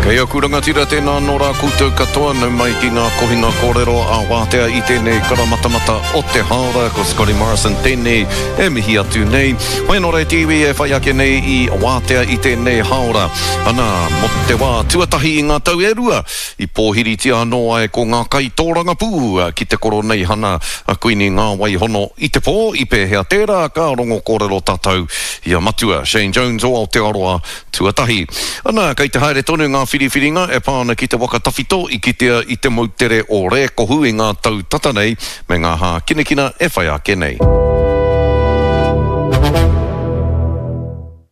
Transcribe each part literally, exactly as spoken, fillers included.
Kei aku rangatira tēnā nō rā koutou katoa nau mai ki ngā kohinga kōrero a wātea i tēnei karamatamata o te hāora ko Scotty Morrison tēnei e mihi atu nei. Hoi anō rā te iwi e whai ake nei i wātea i tēnei hāora. Ana, mō te wā tuatahi i ngā tau e rua i pōhiritia anō ai ko ngā kaitōrangapū ki te koroneihana a Kuini Ngā Waihono i te pō i pēhea tērā ka rongo kōrero tātou i a Matua Shane Jones o Aotearoa tuatahi. Ana, kei te haere tonu ngā whiriwhiringa e pā ana ki te waka tawhito i kitea i te moutere o Rēkohu i ngā tau tata nei me ngā hākinakina e whai ake nei.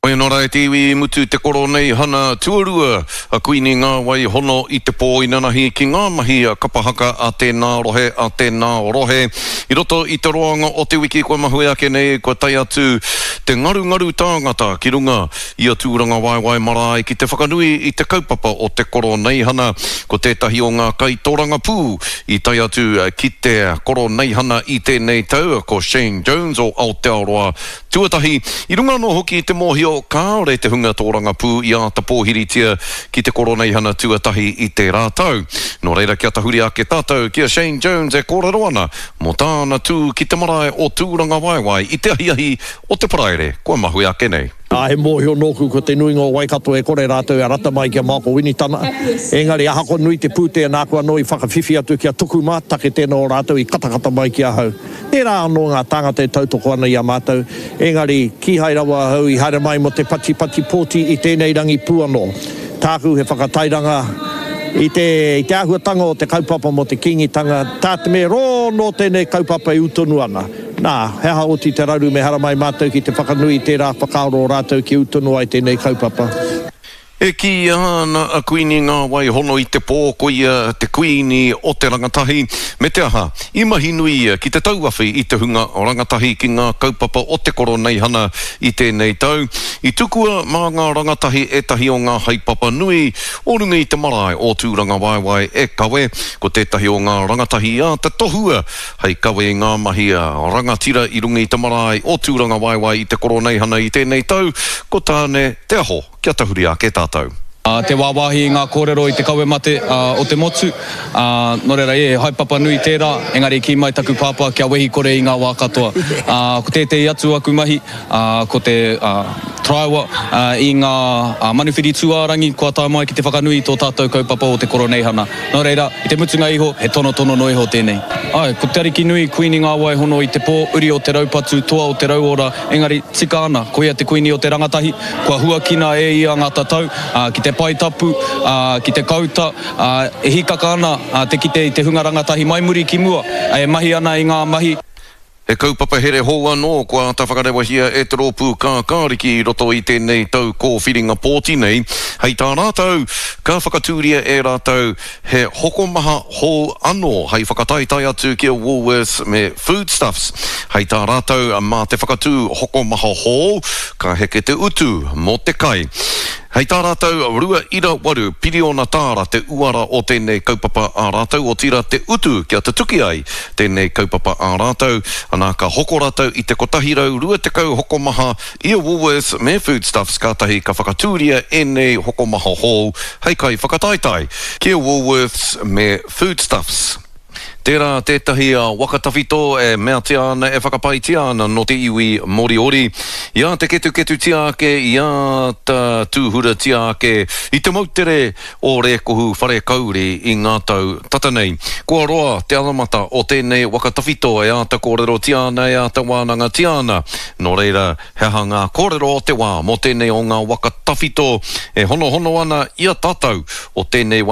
Hoi anō rā e te iwi i mutu te koroneihana tuarua a Kuini Ngā Waihono i te pō inanahi ki ngā mahi kapa haka a tēnā rohe, a tēnā rohe. I roto i te roanga o te wiki kua mahue ake nei, kua tae atu te ngarungaru tāngata ki runga i a Tūrangawaewae marae ki te whakanui i te kaupapa o te koroneihana. Ko tētahi o ngā kaitorangapū i tae atu ki te koroneihana i tēnei tau, ko Shane Jones o Aotearoa tuatahi. I runga anō hoki i te mōhio kāore te hunga tōrangapū i āta pōhiritia ki te koroneihana tuatahi i tērā tau. Nō reira kia tahuri ake tātou ki a Shane Jones e kōrero ana mō tāna tū ki te marae o Tūrangawaewae i te ahiahi o te Paraire kua mahue ake nei. Ā, he mōhio nōku ko te nuinga o Waikato e kore rātou e rata mai ki a Michael Winitana. Engari ahakoa nui te pūtea nāku anō i whakawhiwhi atu ki a Tukuma, take tēnā o rātou i katakata mai ki ahau. Tērā anō ngā tāngata e tautoko ana i a mātou, engari kīhai rawa ahau i haere mai mō te patipati pōti i tēnei rangi pū anō. Tāku he whakatairanga i te, i te āhuatanga o te kaupapa mō te Kīngitanga, tā te mea rō nō tēnei kaupapa e ū tonu ana. Nā, he aha oti te raru me haramai mātou ki te whakanui i tērā whakaaro o rātou kia ū tonu ai tēnei kaupapa. E kīia ana a Kuini Ngā Waihono i te pō ko ia te kuini o te rangatahi, me te aha, i mahi nui ia ki te tauawhi i te hunga rangatahi ki ngā kaupapa o te koroneihana i tēnei tau. I tukua mā ngā rangatahi ētahi o ngā haepapa nui o runga i te marae o Tūrangawaewae e kawe, ko tētahi o ngā rangatahi i āta tohua hei kawe i ngā mahi rangatira i runga i te marae o Tūrangawaewae i te koroneihana i tēnei tau, ko Tāne Te Aho. Kia tahuri ake tātou. Te wāwāhi i ngā kōrero i te kawe mate o te motu, nō reira, he haepapa nui tērā, engari kī mai taku pāpā kia wehi kore i ngā wā katoa. Ko tētehi atu aku mahi, ko te taraiwa i ngā manuwhiri tūārangi kua tae mai ki te whakanui i tō tātou kaupapa o te Koroneihana. Nō reira, i te mutunga iho, he tonotono noa iho tēnei. Āe, ko Te Arikinui, Kuini Ngā Waihono i te pō, uri o te raupatu, toa o te rauora, engari, tika ana, koia te kuini o te rangatahi, kua huakina e ia ngā tatau, ki te pae tapu, ki te kauta, e hīkaka ana te kite i te hunga rangatahi mai muri ki mua, e mahi ana i ngā mahi. He kaupapa here hou anō kua āta whakarewahia e te rōpū Kākāriki i roto i tēnei tau kōwhiringa pōti nei. Hei tā rātou, ka whakatūria e rātou he hokomaha hou anō hei whakataetae atu ki a Woolworths me Foodstuffs. Hei tā rātou, mā te whakatū hokomaha hou, ka heke te utu mō te kai. Hei tā rātou, rua ira waru piriona tāra te uara o tēnei kaupapa ā rātou, otirā te utu kia tutuki ai tēnei kaupapa ā rātou. Anā, ka hoko rātou i te kotahi rau rua tekau hokomaha i a Woolworths me Foodstuffs kātahi ka whakatūria ēnei hokomaha hou hei kaiwhakataetae ki a Woolworths me Foodstuffs. Tērā tētahi waka tawhito e meatia ana, e whakapaetia ana nō te iwi Moriori. I āta ketuketutia ake, i āta tūhuratia ake i te moutere o Rēkohu Wharekauri i ngā tau tata nei. Kua roa te anamata o tēnei waka tawhito e āta kōrerotia ana, e āta wānangatia ana. Nō reira, he aha ngā kōrero o te wā mō tēnei o ngā waka tawhito e honohono ana i a tātou o tēnei wā?